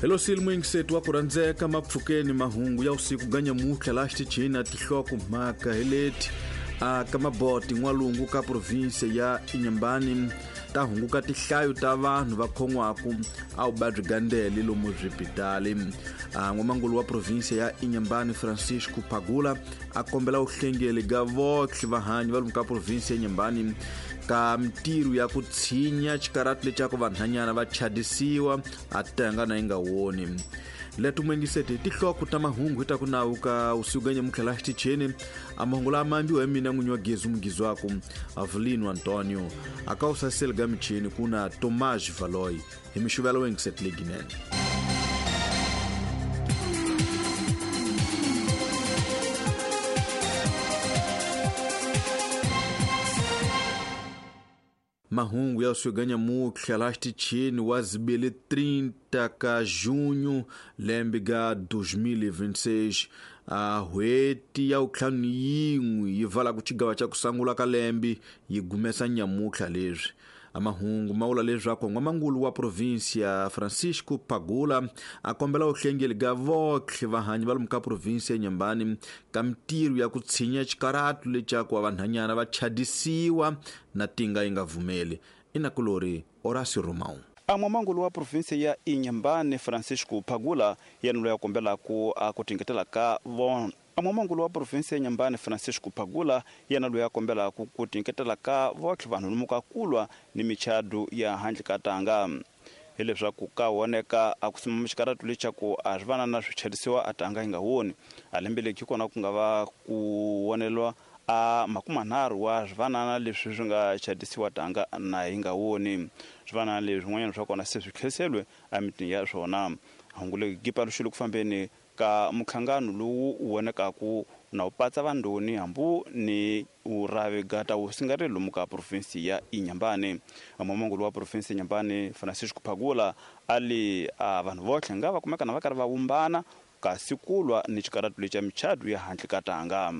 Hello silmwingisetu wa ku rhandzeka mapfukeni mahungu ya usiku ganyamutlha laha xitichini na tihloko mhaka hi leti a ka maboti n'walungu ka provinsia ya Inhambane ta hunguka tihlayo ta vanhu va khon'waku a vuvabyi gandele lomu swipitali. A n'wamangulu wa provinsia ya Inhambane Francisco Pagula a kombela vuhlengeli ga votlhe vahanyi va lomu ka provinsia ya Inhambane ka mintirho ya ku tshinya xikarati lecaku vanhanyana va chadisiwa a tanga na yi nga woni. Leto muengiseti tihloko ta mahungu hi ta ku nawu ka usiku ga nyamutlha laha xitichini a mahungu lama ambiwa hi mina n'winyi wa gezi mugizwaku Avelino Antonio a ka usaseli ga michini ku na Tomás Valoy hi mixuvelo wengiseti leginene. Mahungu ya usiku ga nyamutlha laha xitichini wa zibili 30 ka junho lembe ga 2026 a hweti ya vutlhanu yin'we yi vala ku xigava xa ku sungula ka lembe yi gumesa nyamutlha leswi. A mahungu ma vula leswaku n'wamangulu wa provinsia Francisco Pagula a kombela vuhlengeli ga votlhe vahanyi va lomu ka provinsia ya Inhambane ka mintirho ya ku tshinya xikaratu lecaku wa vanhanyana va chadisiwa na tinga yi nga vumeli. I nakulori Horácio Romão. A n'wamangulu wa provinsia ya Inhambane Francisco Pagula yena loyi a kombelaku a ku tingetela ka vona. A n'wamangulu wa provinsia ya Inhambane Francisco Pagula yena loyi a kombelaku ku tinyiketela ka votlhe vanhu lomu ka kulwa ni michadu ya handle ka tanga. Hileswaku ka woneka a ku simama xikaratu lexa ku a swi vanana swi chadisiwa a tanga yi nga woni. A lembe leki kona ku nga va ku wonelwa a makumanharhu wa swivanana leswi swi nga chadisiwa tanga na yi nga woni. Swivanana leswi swin'wanyana swa kona se swi tlheriseriwe emitini ya swona. Hungu leri gi paluxile ku fambeni ka muhlangano lowu wu vonekaku na wu patsa vandoni hambu ni uravi gata wu singari lomu ka provinsi ya Inhambane. N'wamangulu wa provinsi ya Inhambane Francisco Pagula a li a vanhu votlhe nga va kumeka na va karhi va vumbana kasi kulwa ni xikaratu lexa michadu ya handle ka tanga.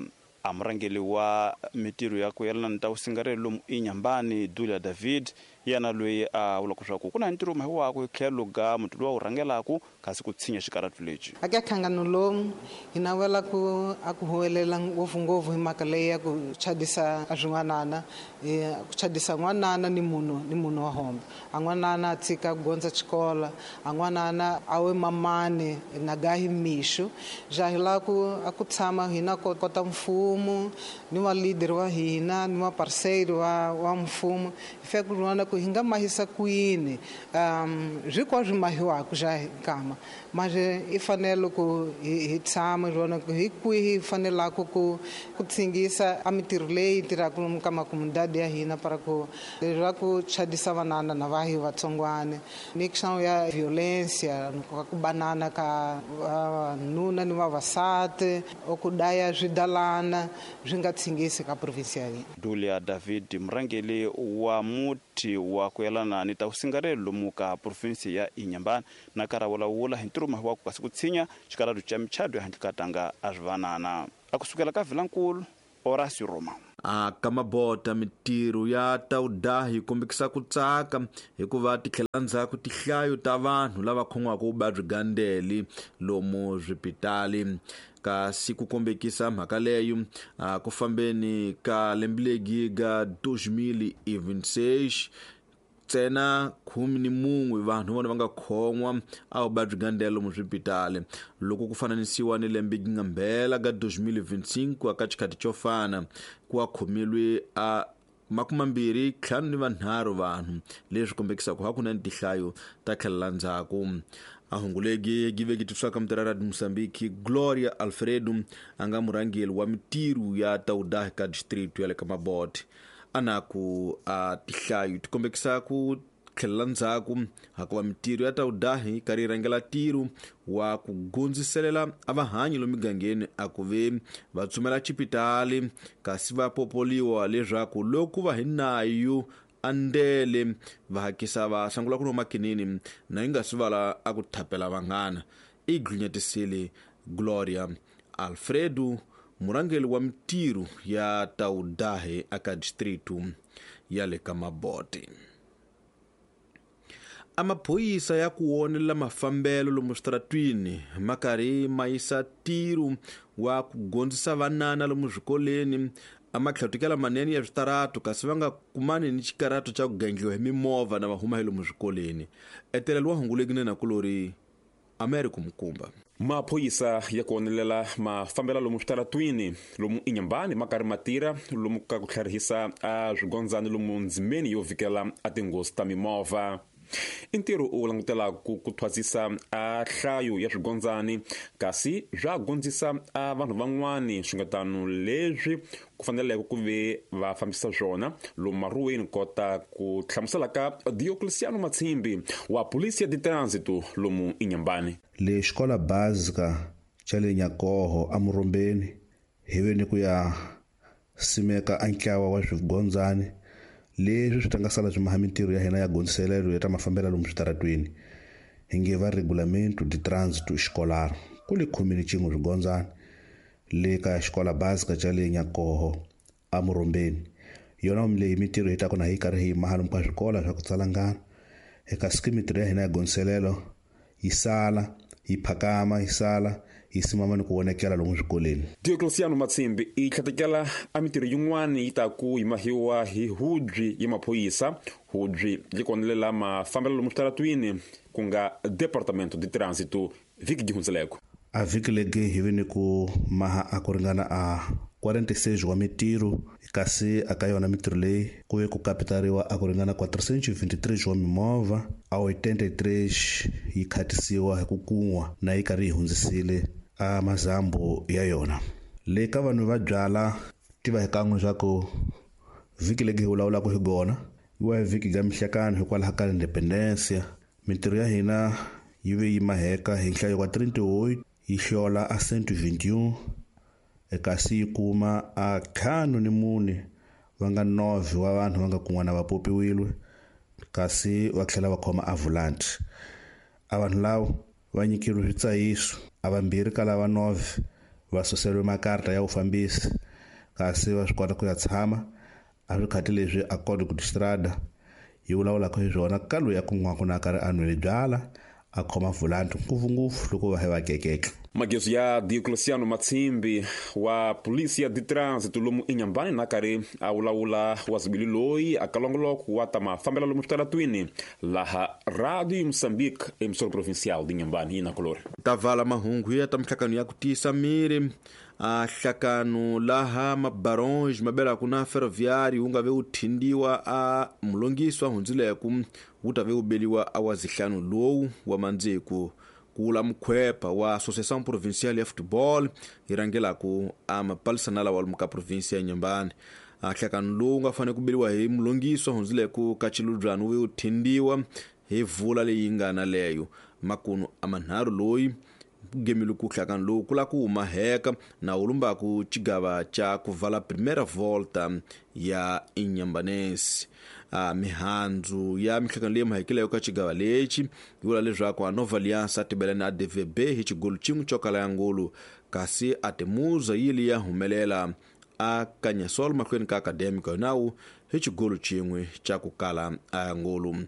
A murhangeri wa mintirho ya ku yelana ni ta vusingareli lomu Inhambane Dulia David yena loyi a vulaka leswaku ku na ntirho mahiwaku hi tlhelo ga muti lowu a wu rhangelaku kasi ku tshinya xikaratu lexi. Aka nhlangano lowu hi navela ku a ku huwelela ngopfungopfu hi mhaka leyi ya ku chadisa a swin'wanana, ku chadisa n'wanana ni munhu ni munhu wa hombe. A n'wanana a tshika ku gondza xikola, a n'wanana a we mamani na gahi mixo. Ja hi lava ku a ku tshama hina kota mfumo ni va leader wa hina ni va parceiro wa mfumo hi fika ku vona ku hi nga mahisa kwini swi kwa swi mahiwaka ja hi nkama mas i fanele ku hi tshama hi vona ku hi kwihi hi fanelaka ku tshingisa a mintirho leyi tirhaka lomu ka makomunidade ya hina para ku leswaku chadisa vanana na vahi vatsongwane ni xana ya violencia ku banana ka vavanuna ni vavasati o ku daya swidalana swi nga tshingisi ka provinsi ya hina. Dulia David murhangeri wa muti wa ku yelana ni ta vusingareli lomu ka provinsi ya Inhambane na karhi a vulavula hi ntirho wa ku kasi ku tshinya xikaratu xa michadu ya handle ka tanga a swi vanana. A kusukela ka Vilankulu, Horácio Roma. A ka mabota mintirho ya ta vudahi yi kombekisa ku tsaka hikuva ti tlhela ndzhaku tihlayo ta vanhu lava khon'waka vuvabyi gandeli lomu swipitali. Kasi ku kombekisa mhaka leyo a ku fambeni ka lembe legi ga 2026 ntsena 11 vanhu vona va nga khon'wa a vuvabyi gandelo lomu swipitali loko ku fananisiwa ni lembe gi nga mbhela ga 2025 ka xikhati xo fana ku a khomilwe a 253 vanhu leswi kombekisaka hakunene tihlayo ta tlhelela ndzhaku. A hungu legi gi veki tiswaka mutirha Radio Mozambique Gloria Alfredo a nga murhangeri wa mintirho ya ta vudahi ka district ya le ka Mabote a na ku a tihlayo ti kombekisa ku tlhelela ndzhaku hakuva mintirho ya ta vudahi karhi yi rhangela ntirho wa ku gundziselela a vahanyi lomu migangeni a ku ve va tsumela xipitali kasi va popoliwa leswaku loko va hi nayo a ndele va hakisa va sungula ku nwa makinini na yi nga swi vala a ku thapela vanghana. I glinyetisile Gloria Alfredo murhangeri wa mintirho ya ta vudahi aka district ya le ka Mabote. A maphorisa ya ku wonelela mafambelo lomu switaratwini ma karhi ma yisa ntirho wa ku gondzisa vanana lomu swikoleni a matlhatukela manene ya switaratu kasi va nga kumani ni xikarato xa ku gendliwa hi mimovha na va huma hi lomu swikoleni. Etelelo wa hunguleki na nakulori Americo Mukumba. Maphorisa ya ku onelela mafambelo lomu switaratwini lomu Inhambane ma karhi ma tirha lomu ka ku tlharihisa a swigondzani lomu ndzimeni yo vhikela a tinghozi ta mimovha. I ntirho u langutelaka ku thwasisa a nhlayo ya swigondzani kasi swa gondzisa a vanhu van'wani swingatano leswi ku faneleke ku ve va fambisa swona lomu maruweni kota ku hlamusela ka Diocleciano Matshimbi wa Polícia de Trânsito lomu Inhambane. Le xikola básica xa le Nyakoho eMurumbeni hi ve ni ku ya simeka a ntlawa wa swigondzani leswi swi ta nga sala swi maha mintirho ya hina ya gondziselelo ya ta mafambelo lomu switaratweni hi nge va Regulamento de Trânsito Escolar ku le 11 swigondzani le ka xikola básica xa le Nyakoho eMurumbeni. Yona leyi mintirho yi ta kona hi karhi hi maha lomu ka swikolo swa ku tsalangana eka mintirho ya hina ya gondziselelo yi sala yi phakama yi sala yi simama ni ku vonekela lomu swikoleni. Diocleciano Matshimbi i tlhatekela a mintirho yin'wana yi ta ku yimahiwa hi hubyi ya maphorisa hubyi yi konelela mafambelo lomu switaratwini ku nga Departamento de Trânsito vhiki gi hundzeleko. A vhiki legi hi ve ni ku maha a ku ringana a 46 wa mintirho kasi aka yona mintirho leyi ku ve ku kapitariwa a ku ringana 423 wa mimovha a 83 yi khatisiwa hi ku kun'wa na yi karhi yi hundzisile a mazambu ya yona. Le ka vanhu va byala tiva hi kan'we swa ku vhiki legi hi vulavulaka hi gona yi wa hi vhiki ga mihlekano hikwalaho ka Independencia. Mintirho ya hina yi ve yi maheka hi nhlayo wa 38 yi hlola a 121 kasi yi kuma a 54 va nga 9 wa vanhu va nga kun'wana va popiwile kasi va tlhela va khoma a volanti. A vanhu lavo va nyikeriwe switsayiso a vambirhi ka lava 9 va suseriwe makarta ya vufambisi kasi va swi kota ku ya tshama a swikhati leswi a Código de Estrada yi vulavulaka hi swona ka loyi a kun'waka na karhi a nwile byala a khoma volanti ngopfungopfu loko va hi va kekeke. Magezo ya Diocleciano Matshimbi wa Polícia de Trânsito lomu Inhambane na karhi a vulavula wa zibili loyi a kalongoloko wa ta mafambelo lomu switaratwini laha Radio Moçambique emissora provincial de Inhambane yi na kolori. Ta vala mahungu ya ta mihlakano ya ku tiyisa miri a hlakano laha mabaronge mabelaka na ferroviário wu nga ve wu thindiwa a mulongiswa hundzileko wu ta ve wu beliwa a wa zihlanu lowu wa mandziku ku vula mukhwepa wa Associação Provincial ya Futebol yi rhangelaka a mapalisana lawa lomu ka provinsia ya Inhambane. A hlakano lowu nga fanele ku beliwa hi mulongiswa hundzileko ka chilubyana wu ve wu thindiwa hi vula leyi nga na leyo makunu a manharhu loyi gemile ku hlakano lowu ku la ku humaheka na wu lumbaku xigava xa ku vala primeira volta ya Inhambanense. A mihandzu ya mihlakano leyi mahekileko ka xigava lexi yi vula leswaku a Nova Aliança a tibela na ADVB hi xigolo xin'we xo kala ya ngulu kasi a Temuza yi li ya humelela a Kanyasol mahlweni ka Acadêmico nawu hi xigolo xin'we xa ku kala a ngulu.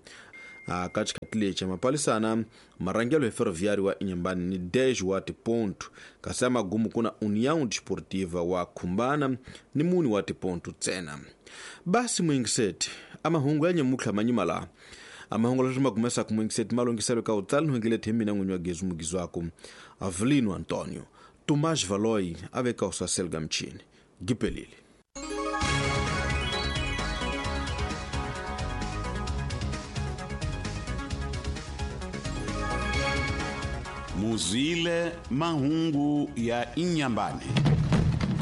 A ka xikhathi lexi mapalisana marhangelo hi Ferroviário wa Inhambane ni 10 wa tiponto kasi amagumu kuna União Desportiva wa Khumbana ni muni wa tiponto ntsena. Basi muingiseti amahungu ya nyamutlha manyima laha amahungu leswi ma kumesaka muingiseti ma longhiselo ka utsali nhongele hi mina n'winyi wa Gezu Mugizwaku Avelino Antonio Tomás Valoi a veka usasel ga mchini gipelile. Muzwile mahungu ya Inhambane.